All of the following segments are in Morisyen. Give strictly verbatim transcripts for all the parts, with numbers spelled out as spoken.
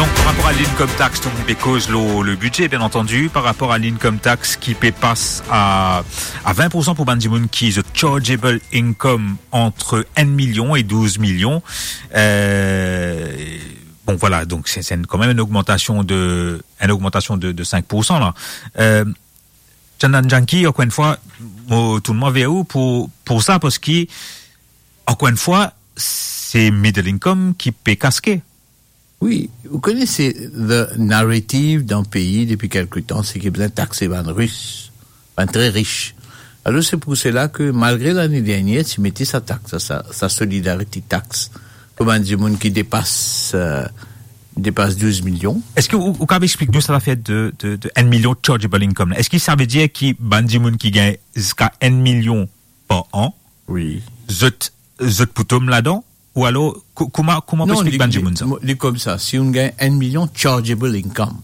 Donk, par rapor a l'income tax, donk, nou pe koz lor le bidze, bien antandi, par rapor a l'income tax ki pe pas a, a vin pour san pour bann dimoun ki zot chargeable income ant enn milion e douz milion. Euh, bon, vwala, donk se, se enn, kanmem enn ogmantasion de, enn ogmantasion de, de sink pour san la. Euh, Chandan Janki, ankor enn fwa, mo tourn mwa ver ou pour, pour sa, parski, ankor enn fwa, se middle income ki pe kaske. Wi, ou kone, se the narrative dan pei depi kelke tan, se ki bizin takse bann ris, bann tre ris. Alor, se pour sela ke, malgre lane dernier ti mete sa tax, sa, sa solidarity tax, pou bann dimoun ki depas, euh, depas douz milion. Eski ou, ou kapav explik nou sa zafer de, de, de enn milion chargeable income la? Eski sa ve dir ki bann dimoun ki gagn ziska enn milion par an, wi, zot, zot pou tom ladan? Ou alor, ko-, kouma, kouma pou explik bann dimoun sa? Non, li, li, li koumsa, si ou gagn enn milion chargeable income,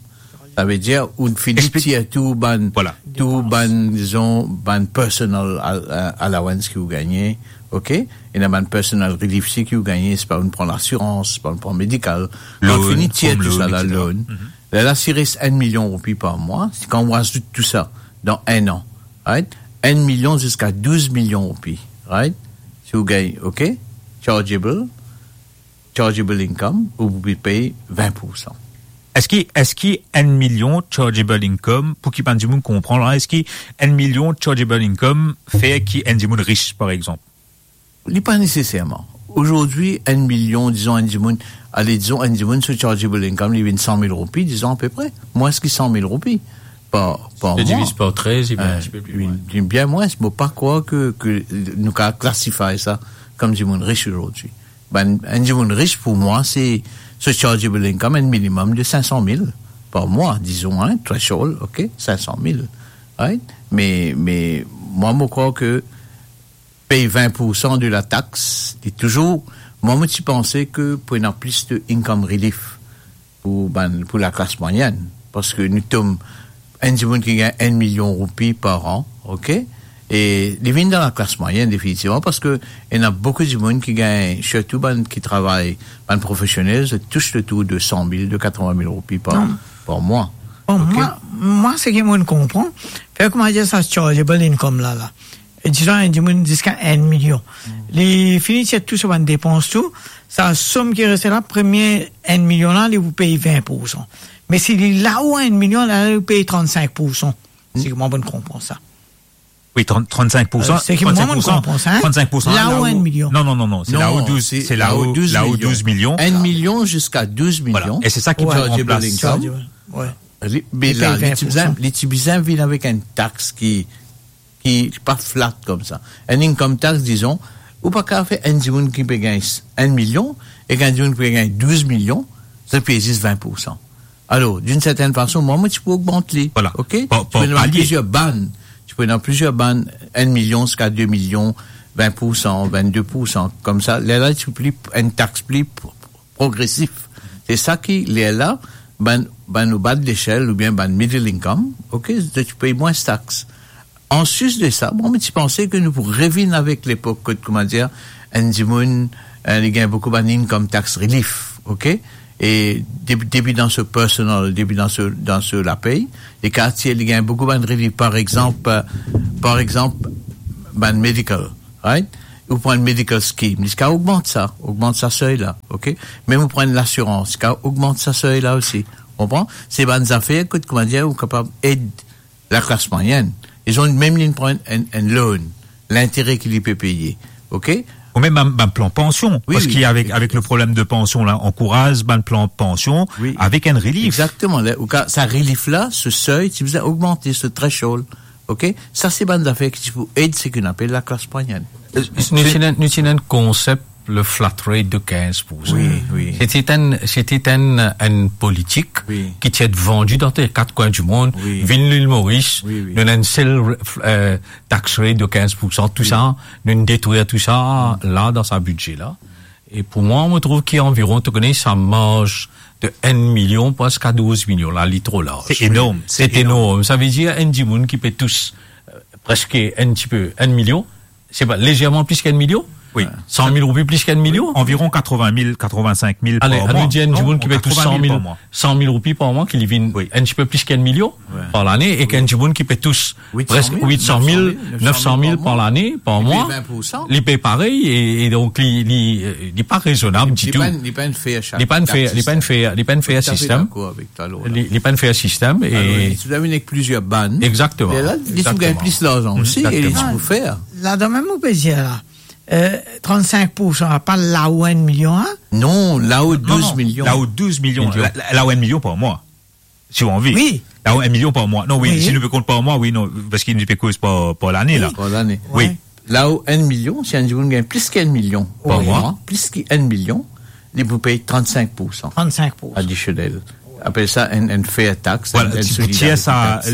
sa ve dir ou fini tir tou bann, vwala, tou bann, dizon, bann personal al-, euh, allowance ki ou gagne, ok? Ena bann personal relief si ki ou gagne, se pa ou pran lasirans, se pa ou pran medikal. Ou fini tir tou sa, la loan. Lerla, si res enn milion roupi par mwa, si kan ou azout tou sa dan enn an, right? Enn milion ziska douz milion roupi, right? Si ou gagn, ok? Chargeable, chargeable income, ou pou pey vin pour san. Eski, eski enn milion chargeable income, pou ki bann dimoun konpran la, eski enn milion chargeable income fer ki enn dimoun ris, par exanp? Li pa neseserman. Azordi, enn milion, dizon, enn dimoun, ale, dizon, enn dimoun, so chargeable income, li vinn san mil roupi, dizon, apepre, mwins ki san mil roupi par, par mwa. Diviz par trez, li vinn enn tipe pli lwin. Bien mwins, mo pa krwar ke, ke nou kapav klasify sa kom dimoun ris azordi. Bann, enn dimoun ris, pou mwa, se, so chargeable income, enn minimum de sink san mil par mwa, dizon, hein, threshold, ok, sink san mil, right? Me, me, mwa, mo krwar ke pey vin pour san de la tax, li touzour, mwa, mo ti panse ke pou ena plis de income relief pou bann, pou laklas mwayenn, parski nou tom enn dimoun ki gagn enn milion roupi par an, ok? E li vinn dan laklas mwayenn, definitivman, parski ena boukou dimoun ki gagn, sirtou bann ki travay, bann profesionel, zot tous letour de san mil, de katrovin mil roupi par, par mwa. Bon, ok? Mwa, mwa, seki mo konpran, fer koumadir sa chargeable income la, la. E dizon, enn dimoun ziska enn milion. Li fini tir tou so bann depans tou, sa som ki reste la, premie enn milion la, li pou pey vin pour san. Me si li lao enn milion la, li pou pey trannsink pour san. Seki mwa mo konpran sa. Wi, trant, trannsink pour san, euh, seki mwa mo konpran sa, hein? Trannsink pour san, lao enn milion. Non, non, non, non, se lao douz, se lao douz milion. Enn milion ziska douz milion. Vwala. E se sa ki pou ranplas sa. Wi. Li, me la, li ti bizin, li ti bizin vinn avek enn tax ki ki pa flat koumsa. Enn income tax, dizon, ou pa kapav fer enn dimoun ki pe gagn enn milion ek enn dimoun ki pe gagn douz milion, zot pey zis vin pour san. Alor, d'une certaine façon, mwa, mo ti pou ogmant li. Vwala. Ok? Par, par palye. Ti pou ena plizier bann. Ti pou ena plizier bann, enn milion ziska de milion, vin pour san, vinn de pour san. Koumsa, lerla, ti pli, enn tax pli progresif. Se sa ki, lerla, bann, bann o ba de lesel oubien bann middle income, ok, zot ti pey mwins tax. Anplis de sa, mwa, mo ti panse ke nou pou revinn avek lepok kot, koumadir, enn dimoun, eh, li gagn boukou bann income tax relief, ok? E depi, depi dan so personal, depi dan so, dan so lapey, li kapav tir, li gagn boukou bann relief, par exanp, eh, par exanp, bann medical, right? Ou pran medical scheme, li kapav ogmant sa, ogmant sa sey la, ok? Mem ou pran lasirans, li kapav ogmant sa sey la osi. Konpran? Se bann zafer kot, koumadir, ou kapav ed laklas mwayenn. Li zot mem li pran enn, enn loan, lintere ki li pe peye, ok? Ou mem bann, bann plan pansion, wi, parski avek, avek le problem de pansion la, ankouraz bann plan pansion avek enn relief. Exactement. La, ou ka, sa relief la, so sey, ti bizin ogmante so threshold. Ok? Sa se bann zafer ki ti pou ed seki nou apel laklas mwayenn. Euh, nou ti ena, nou ti ena enn konsep, le flat rate de kinz pour san. Wi, wi. Sete enn, sete enn, enn politik ki ti ete vandi dan kat kwin dimond, vinn Lil Moris, nou ena enn sel, euh, tax rate de kinz pour san, tou sa, nou detrir tou sa la, dan sa bidze la. E pou mwa, mo trouv ki anviron, to kone, sa marz de enn milion preske a douz milion la, li tro larz. Se enorm, se enorm. Sa ve dir enn dimoun ki pe tous, euh, preske enn tipe enn milion, se pa, lezerman plis ki enn milion, Wi, san mil roupi plis ki enn milion. Anviron katrovin mil, katrovin-sink mil par mwa. Ale, anou dir enn dimoun ki pe tous san mil, san mil roupi par mwa, ki li vinn enn tipe plis ki enn milion par lane, e ki enn dimoun ki pe tous preske wit san mil, nef san mil par lane, par mwa, li pe parey, e, e donk li, li, li pa rezonab ditou. Li pa enn, li pa enn fair, li pa enn fair, li pa enn fair, li pa enn fair sistem. Li, li pa enn fair sistem, e li ti vinn avek plizier bann. Egzakteman. Me la, li ti gagn plis larzan osi, e li ti pou fer. Ladan mem, ou pe dir la, eh, trannsink poursan, apa lao enn milion, a? Non, lao douz milion. Lao douz milion. La, la, lao enn milion par mwa. Si ou anvi. Wi. Lao enn milion par mwa. Non, wi, si nou pe kont par mwa, wi, non, parski nou pe koz par, par lane, la. Par lane. Wi. Lao enn milion, si enn dimoun gagn plis ki enn milion par mwa, plis ki enn milion, li pou pey trannsink poursan. Trannsink poursan. Adisionel. Apel sa enn, enn fair tax, enn, enn solidarite tax.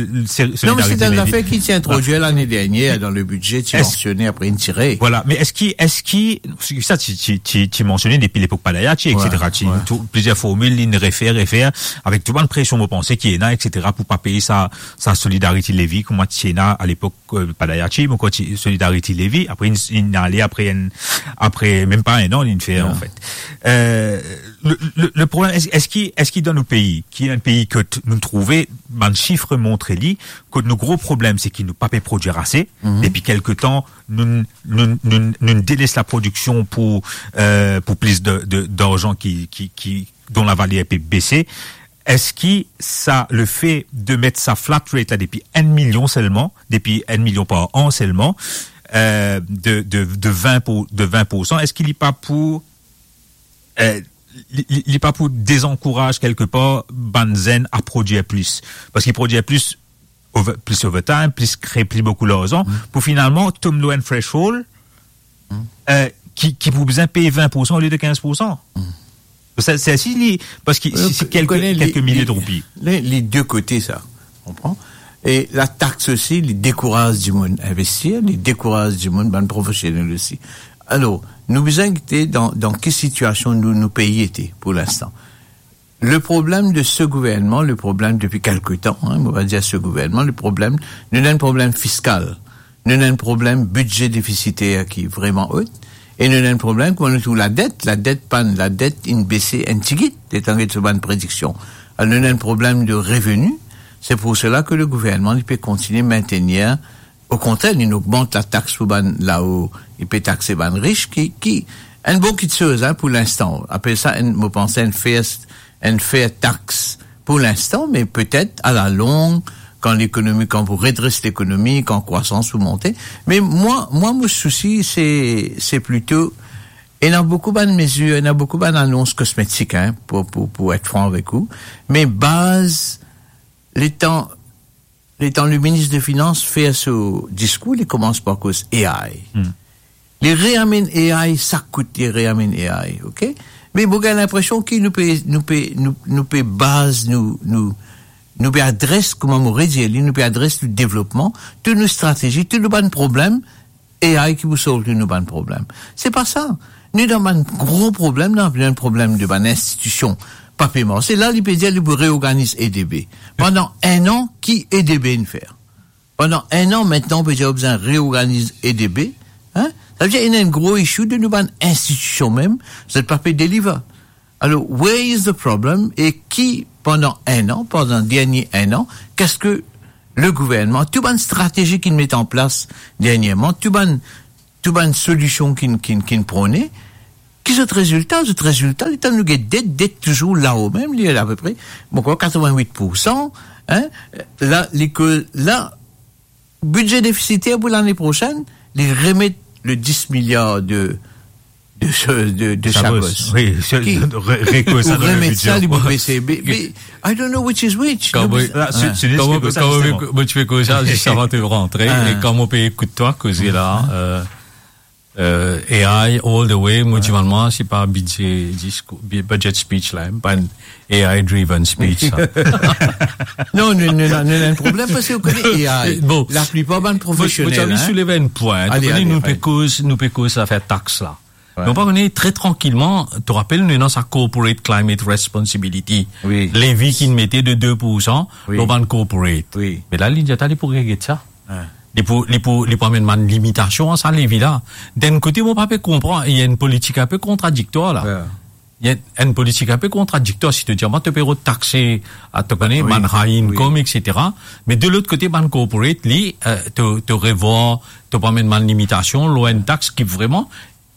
Non, me se enn zafer ki ti introdwir lane dernier dan le bidze, ti mansione, apre inn tire. Vwala, me eski, eski, sa ti, ti, ti, ti mansione depi lepok Padayachee, etsetera. Ti tou, plizier formil, inn refer, refer, avek tou bann presion, mo panse, ki ena, etsetera, pou pa pey sa, sa solidarity levy, kouma ti ena alepok, eh, Padayachee, mo krwar ti solidarity levy, apre inn, inn ale apre enn, apre mem pa enn an, inn fer, anfet. Eh, le, le, le problem, es-, eski, eski dan nou pei, ki enn pei kot nou trouve, bann sif montre li, kot nou gro problem, se ki nou pa pe prodwir ase. Depi kelke tan, nou, nou, nou, nou deles laprodiksion pou, eh, pou plis de, de, darzan ki, ki, ki, dont lavaler pe bese. Eski sa, lefe de met sa flat rate la depi enn milion selman, depi enn milion par an selman, eh, de, de, de vin pou, de vin poursan, eski li pa pou, eh, li, li, li pa pou dezankouraz kelke par bann zenn a prodwir plis? Parski prodwir plis, over-, plis overtime, plis kre pli boukou larzan, pou finalman tom lor enn threshold, eh, ki, ki pou bizin pey vin poursan olie de kinz poursan. Sa, se si li, parski si, si kelke, kelke milie de roupi. Li, li de kote sa, konpran? E latax osi, li dekouraz dimoun investir, li dekouraz dimoun, bann profesionel osi. Alor, nou bizin gete dan, dan ki sitiasion nou, nou pei ete pou linstan. Le problème de ce gouvernement, le problème depuis quelque temps, hein, on va dire ce gouvernement, le problème, nou ena enn problem fiskal, nou ena enn problem bidze defisiter ki vreman ot, e nou ena enn problem kouma nou trouv ladet, ladet pann, ladet inn bese enn tigit, letan get so bann prediksion. Alor, nou ena enn problem de reveni, c'est pour cela que le gouvernement, li pe kontinie maintenir, okontrer, li ogmant latax pou bann lao, li pe takse bann rich, ki, ki, enn bon kitsoz, hein, pou linstan. Apel sa, enn, mo panse, enn fair, enn fair tax pou linstan, me petet, a la long, kan lekonomi, kan pou redres lekonomi, kan krwasans pou monte. Me mwa, mwa, mo sousi, se, se plito, ena boukou bann mezir, ena boukou bann anons kosmetik, hein, pou, pou, pou et fran avek ou. Me baz, letan, letan le minis de finans fer so diskour, li koumans par koz A I. Li reamenn A I, sa kout, li reamenn A I, ok? Me mo gagn linpresion ki nou pe, nou pe, nou, nou pe baz, nou, nou, nou pe adres, kouma mo redir li, nou pe adres nou devlopman, tou nou stratezi, tou nou bann problem, A I ki pou solv tou nou bann problem. Se pa sa. Nou dan bann gro problem, nou dan problem de bann institision pa pe marse. La, li pe dir li pou reorganiz E D B. Pandan enn an, ki E D B inn fer? Pandan enn an, mintnan, ou pe dir ou bizin reorganiz E D B, hein? Sa ve dir, ena enn gro issue de nou bann institision mem, zot pa pe deliver. Alor, where is the problem? E ki, pandan enn an, pandan dernie enn an, keski le gouvernman, tou bann stratezi ki'nn met an plas dernierman, tou bann, tou bann solision ki'nn, ki'nn, ki'nn prone, ki zot rezilta? Zot rezilta, letan nou get det, det touzour lao mem, li apepre, mo krwar, katrovin-wit poursan, hein? La, li ke, la, bidze defisiter pou lane prosenn, li remet le dis miliar de, de, de, de Chagos. Wi, se, ki, re-, rekoz sa pou dan le remet bidze. Sa, li pou bese. Me, me, I don't know which is which. Kan mo, la, se, se kan mo, kan mo, mo ti pe koz sa, zis avan to rantre, e kan mo pe ekout twa koze la, euh, euh, A I all the way, mo ti demann mwa, se pa bidze, dis, bi-, budget speech la, hein, pa enn A I driven speech, sa. Non, nou, nou, nou, nou ena enn problem parski ou kone A I. Bon. Laplipar bann profesionel, hein. Mo, mo ti anvi souleve enn pwin. Ale, ale, ale. Ou kone, nou pe koz, nou pe koz zafer tax la. Wi. Nou pa kone, tre trankilman, to rapel, nou ena sa corporate climate responsibility. Wi. Levi ki'nn mete de de poursan lor bann corporate. Wi. Me la, li dir, ta li pou reget sa. Wi. Li pou, li pou, li pou amenn bann limitasion a sa levi la. D'enn kote, mo pa pe konpran, ena enn politik inpe kontradiktwar la. Yeah. Ena enn politik inpe kontradiktwar, si to dir, mwa, to pe rod takse, a, to kone, oui, bann high income, oui, et cetera. Me de lot kote, bann corporate, li, euh, to, to revwar, to pou amenn bann limitasion, lor enn tax ki vreman,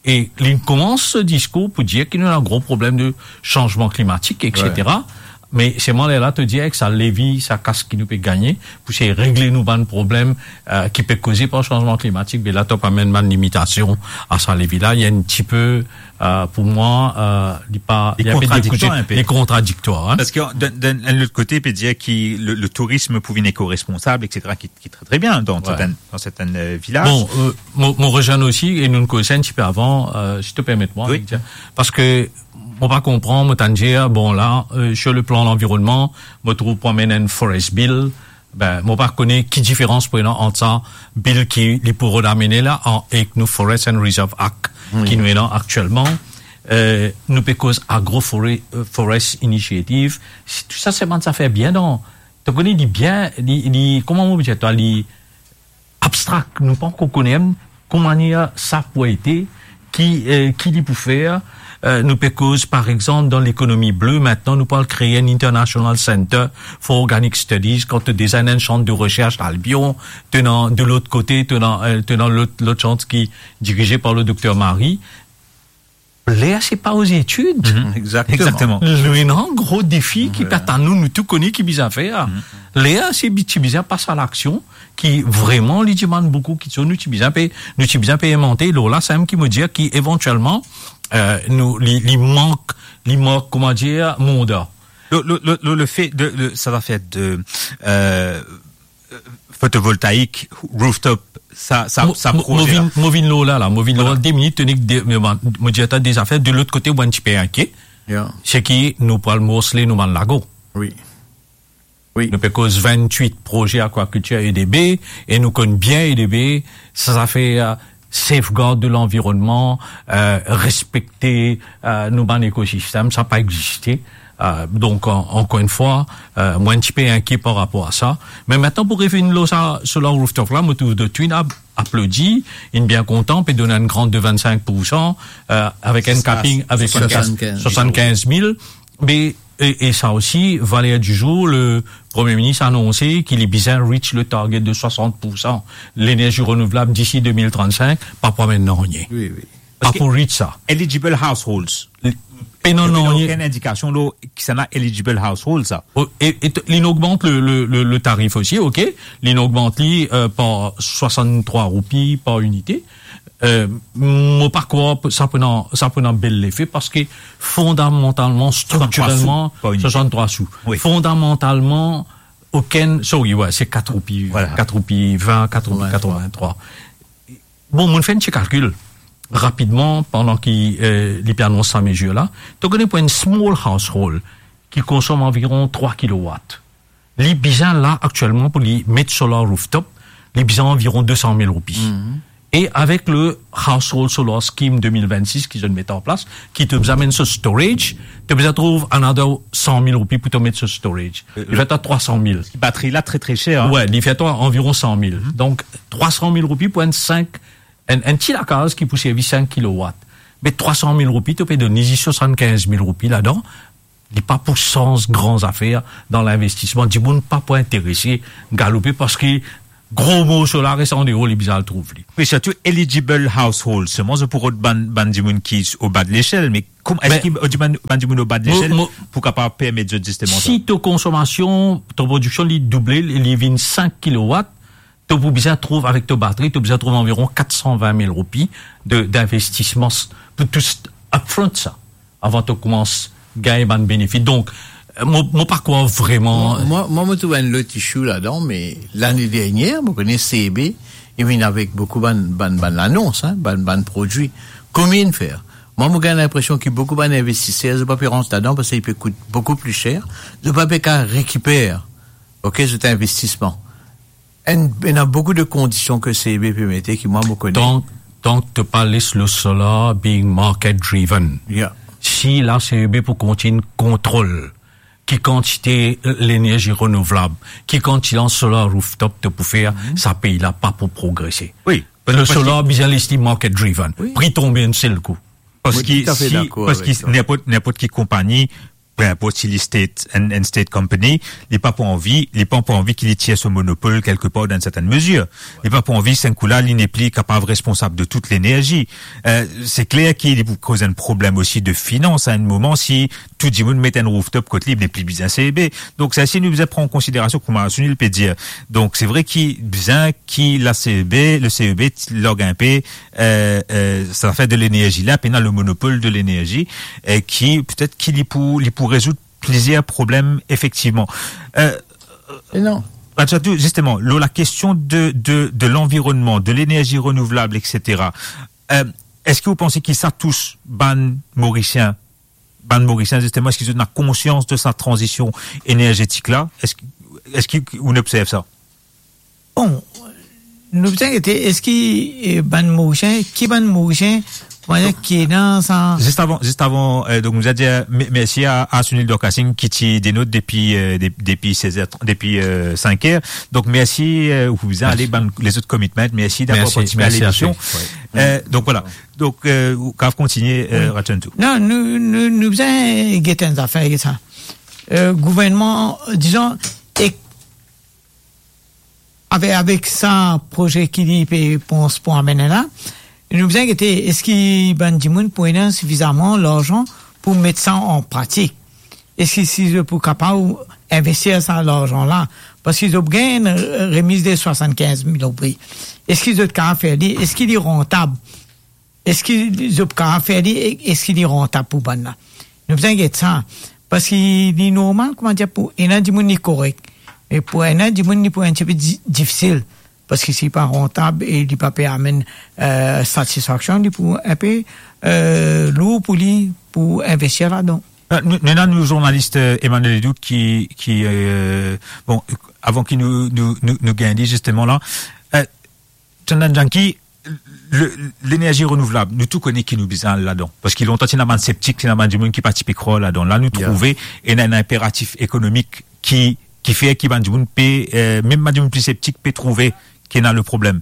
e li koumans so diskour pou dir ki nou ena gro problem de sanzman klimatik, et cetera. Ouais. Me selman lerla to dir ek sa levi, sa kas ki nou pe gagne, pou sey regle nou bann problem, euh, ki pe koze par sanzman klimatik, be la to pou amenn bann limitasion a sa levi la, li enn tipe, euh, pou mwa, euh, li pa, li enpe dekoze, inpe, li kontradiktwar, hein. Parski dan, dan, dan lot kote, pe dir ki le, le tourism pou vinn ekoresponsab, et cetera, ki, ki tre, tre bien dan, ouais, sertenn, dan sertenn, euh, vilaz. Bon, euh, mo, mo rezwenn osi, e nou koz enn tipe avan, euh, si to permet mwa, oui, Victor. Parski mo pa konpran, mo tann dir, bon, la, euh, sur le plan lanvironnman, mo trouv pou amenn enn forest bill, be, mo pa kone ki diferans pou ena ant sa bill ki li pou rod amene la, an, ek nou Forest and Reserve Act, oui, ki nou ena aktielman. Euh, nou pe koz Agro Fore-, euh, Forest Initiative. Si tou sa, se bann zafer bien dan, to kone, li bien, li, li, kouma mo dir twa, li abstrak, nou pa ankor kone mem kouma manier sa pou ete, ki, euh, ki li pou fer. Euh, nou pe koz, par exanp, dan lekonomi ble, aster nou pou al kree enn International Center for Organic Studies, kan to deza ena enn sant de resers Albion, to ena de lot kote, to ena, euh, to ena lot, lot sant ki dirize par le dokter Marie. Ler se pa aux études. Mhm. Exactement. Exactement. Nou ena gro defi ki, ouais, pe atann nou, nou tou kone ki bizin fer. Mhm. Ler se bi-, ti bizin pas a laksion, ki vreman li dimann boukou kiksoz, nou ti bizin pe, nou ti bizin pe envante, lor la, sa mem ki mo dir ki evantielman, euh, nou, li, li mank, li mank, kouma dir, manda. Le, le, le, le, le fait de, le, sa zafer de, euh, photovoltaïque, rooftop, sa, sa, mo, sa mo, mo proze la. Vinn, mo vinn lor la, la. Mo vinn lor la. Voilà. De minit, to nek de, mo, mo dir twa de zafer, de lot kote, mo enn tipe inkiet. Yeah. Se ki nou pou al morsle nou bann lago. Oui. Oui. Nou pe koz vennwit proze akwakiltir E D B, e nou konn bien E D B, sa, sa fer, euh, safeguard de lanvironnman, euh, respekte, euh, nou bann ekosistem, sa pa existe. Euh, donk, an-, ankor enn fwa, euh, mo enn tipe inkiet par rapor a sa. Me aster pou revinn lor sa, solar rooftop la, mo trouv The Twin ap-, aplodi, inn bien kontan, pe donn enn grant de vennsenk poursan, euh, avek enn capping, avek enn cap swasannkinz mil. Swasannkinz mil. Me, e, e sa osi, valer di zour, le Premie Minis anonse ki li bizin reach le target de swasant poursan lenerzi renouvlab disi de mil trannsenk, pa pou amenn nanye. Oui, oui. Pa pou reach sa. Eligible households. Pena nanye. Okenn indikasion lor kisannla eligible households sa. O, e, e t-, linn ogmant le, le, le, le tarif osi, ok? Linn ogmant li, euh, par swasanntrwa roupi par inite. Euh, mo pa krwar sa pou ena, sa pou ena bel lefe, parski fondamantalman, swasanntrwa sou, struktirelman, par inite. Swasanntrwa sou. Oui. Fondamantalman, okenn, sorry, ouais, se kat roupi, voilà, kat roupi vin, kat roupi katrovin-trwa. Bon, mo'nn fer enn ti kalkil rapidman pandan ki, euh, li pe anons sa mezir la. To kone pou enn small household ki konsom anviron trwa kilowat, li bizin la aktielman pou li met solar rooftop, li bizin anviron de san mil roupi. Mhm. E avek le Household Solar Scheme de mil vennsis ki zot met an plas, ki to bizin amenn so storage, to bizin trouv another san mil roupi pou to met so storage. Euh, li fer twa san mil. Batri la tre, tre ser, hein. Ouais, li fer twa anviron san mil. Mhm. Donk, trwa san mil roupi pou enn senk, enn, enn ti lakaz ki pou servi senk kilowat. Me trwa san mil roupi, to pe donn li zis swasannkinz mil roupi ladan, li pa pou sanz gran zafer dan linvestisman. Dimoun pa pou interese galoupe parski gro morso la res andeor, li bizin al trouv li. Oui, sirtou eligible household. Selman, zot pou rod bann, bann dimoun ki o ba de lesel, me kouma, eski bann, bann dimoun o ba de lesel pou kapav permet zot zisteman sa? Si to konsomasion, to prodiksion, li double, li, li vinn senk kilowat, to pou bizin trouv avek to batri, to bizin trouv anviron kat san vin mil roupi de, dinvestisman s-, pou tou upfront sa, avan to koumans gagn bann benefis. Donk, euh, mo, mo pa krwar vreman. Mwa, mwa, mwa, mo trouv enn lot issue ladan, me lane dernier, mo kone C E B, li vinn avek boukou bann, bann, bann lanons, hein, bann, bann prodwi. Konbien inn fer? Mwa, mo gagn linpresion ki boukou bann investiser, zot pa pe rant ladan parski li pe kout boukou pli ser. Zot pa pe kapav rekiper, ok, zot investisman. Enn, ena boukou de kondision ke C E B pe mete ki mwa mo kone. Tank, tank to pa les le solar being market driven. Yeah. Si la C E B pou kontign kontrol ki kantite, euh, lenerzi renouvlab, ki kantite solar rooftop to pou fer, Mhm. sa pei la pa pou progrese. Wi. Le Parski solar bizin les li market driven. Wi. Pri tonbe enn sel kou. Parski Wi, toutafet si, dakor parski avek sa. Ninport, ninport ki konpagni, pe inport si li state, enn, enn state company, li pa pou anvi, li pa pou anvi ki li tir so monopol kelke par dan enn sertenn mezir. Li pa pou anvi, sa enn kou la, li nepli kapav responsab de tout lenerzi. Euh, se kler ki li pou koz enn problem osi de finans a enn moman si tou dimoun met enn rooftop kot li, nepli bizin C E B. Donk, sa si nou bizin pran an konsiderasion, kouma Sunil pe dir. Donk, se vre ki bizin ki la C E B, le C E B, t-, larg enpe, euh, euh, sa zafer de lenerzi la, pena le monopol de lenerzi, e ki, petet ki li pou, li pou rezoud plizier problem, efektivman. Euh, E non. Rachadou, zisteman, lor la kestion de, de, de lanvironnman, de lenerzi renouvlab, et cetera, euh, eski ou panse ki sa tous bann Morisien, bann Morisien, zisteman, eski zot ena konsians de sa tranzision enerzetik la? Eski, eski ou observ sa? Bon, nou bizin gete, eski, eh, bann Morisien, ki bann Morisien, kouma dir, ki ena sa? Zis avan, zis avan, euh, donk, nou a dir, euh, me-, mersi a, a Sunil Dorkasing ki ti denot depi, euh, de-, depi sez er, depi, euh, sink er. Donk, mersi, euh, ou bizin ale bann lezot commitment. Mersi davwar partisipe a lemision. Mersi, mersi, Ashley. Wi. Euh, donk, vwala. Donk, euh, ou kav kontigne, euh, Wi. Rachadou. Non, nou, nou, nou bizin gete enn zafer, sa. Euh, gouvernman, dizon, ek-, avek, avek sa proze ki li pe pans pou amenn la, nou bizin gete, eski bann dimoun pou ena sifizaman larzan pou met sa an pratik? Eski si zot pou kapav investir sa larzan la? Parski zot gagn enn, euh, remiz de swasannkinz mil roupi. Eski zot kapav fer li? Eski li rantab? Eski zot kapav fer li? E-, eski li rantab pou bann la? Nou bizin get sa. Parski li normal, kouma dir, pou ena dimoun li korek. Me pou ena dimoun li pou enn tipe di-, difisil. Parski si li pa rantab e li pa pe amenn, euh, satisfaksion, li pou enpe, euh, lour pou li pou investir ladan. Ah, nou, nou ena nou zournalis, euh, Emmanuel Ledoux ki, ki, euh, bon, avan ki nou, nou, nou, nou gagn li, zisteman la, euh, Chandan Janki, le, lenerzi renouvlab, nou tou kone ki nou bizin al ladan. Parski lontan ti ena bann septik, ti ena bann dimoun ki pa ti pe krwar ladan. La nou trouve, ena, ena inperatif ekonomik ki, ki fer ki bann dimoun pe, euh, mem bann dimoun pli septik pe trouve ki ena le problem.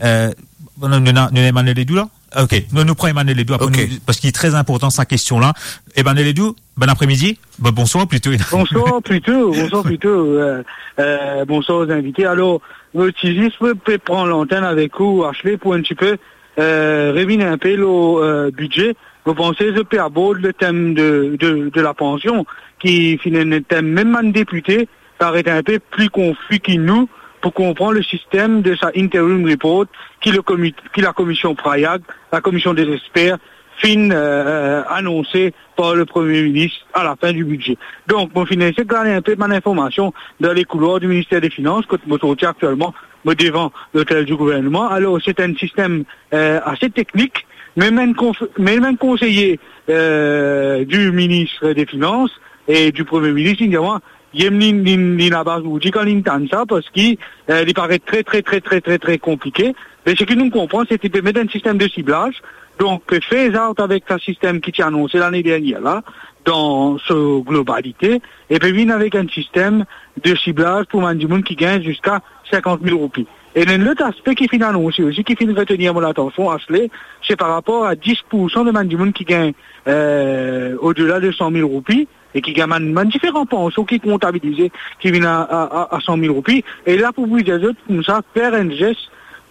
Euh, bon, nou, nou ena, nou ena Emmanuel Ledoux la? Ok, nou, nou pran Emmanuel Ledoux, apre nou, parski li tre inportan sa kestion la. Emmanuel Ledoux, bon apremidi. Bon, bonswar plito. Bonswar plito, bonswar plito, euh, euh, bonswar aux invités. Alor, mo ti zis pe, pe pran lantenn avek ou, Ashley, pou enn tipe, euh, revinn enpe lor, euh, bidze. Mo panse zot pe abord le tem de, de, de la pansion, ki finn enn tem mem bann depite, paret enpe pli konfi ki nou pou konpran le sistem de sa interim report ki le komi-, ki la komision Prayag, la komision de zesper, finn, euh, euh, anonse par le Premie Minis a la fin di bidze. Donk, mo finn esey gagn enpe bann informasion dan le koulwar di Minister de Finans, kot mo sorti aktielman, mo devan lotel di gouvernman. Alor, se enn sistem, euh, ase teknik, me mem enn konf-, me mem enn konseye, euh, di Minister de Finans e di Premie Minis, li dir mwa, Yem li, li, li nabaz oudi kan li tann sa, parski, eh, li paret tre, tre, tre, tre, tre, tre konplike. Me seki nou konpran, se ki pe met enn sistem de siblaz, donk pe phase out avek sa sistem ki ti anonse lane dernier la, dan so globalite, e pe vinn avek enn sistem de siblaz pou bann dimoun ki gagn ziska sinkant mil roupi. E enn lot aspe ki finn anonse osi, ki finn retenir mo latansion, Ashley, se par rapor a dis poursan de bann dimoun ki gagn, eh, odela de san mil roupi, e ki gagn bann, bann diferan pansion ki kontabilize, ki vinn a, a, a, a san mil roupi. E la pou dir zot koumsa, fer enn zes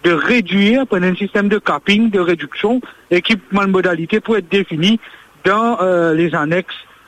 de redwir, pran enn sistem de capping, de rediksion, e ki bann modalite pou et defini dan, eh, les annexes